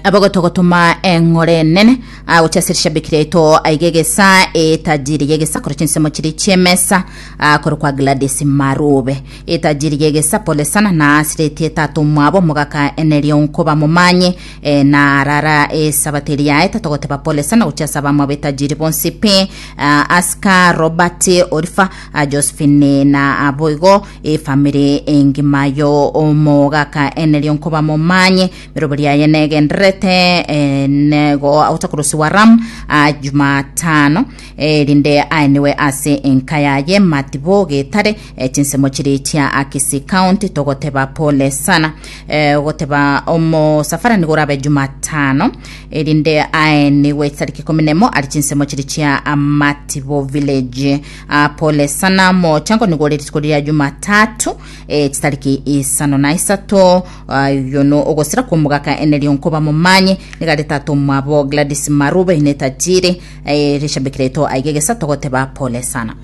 Abagotogotoma eng'ore enene ah, gochia ase rishabiki riaito aiga egesa etajiri y'egesa korwa chinsemo chiria chi'emesa ah, korwa kwa Gladys Marube etajiri y'egesa pole sana na asiretie tata omwabo omogaka enerio nkoba momanye eh, na arara esabato eria yaeta togoteba pole sana gochia ase abamwabo etajiri bonsi pi ah, Aska Robert Orifa ah, Josephine na aboigo efamiri engima yo omogaka enerio nkoba momanye Meroberi aye negendererete eh, nego agotakorosiwa Ram ah, Jumatano eh, erinde aeniwe ase enka yaye Matibo Getare eh, chinsemo chiri chia Akisi County togoteba pole sana eh, goteba omosafara nigo orabe Jumatano erinde aeniwe chitariki ikomi nemo ari chinsemo chiri chia Matibo Village ah, pole sana mochango nigo ore rituko ria Jumatatu eh, chitariki isano na isato Ayio no ogosira kw'omogaka enerio nkoba momanye, nigo are tata omwabo Gladys Marube ne tajiri eh, rishabiki raito aiga egesa togoteba pole sana.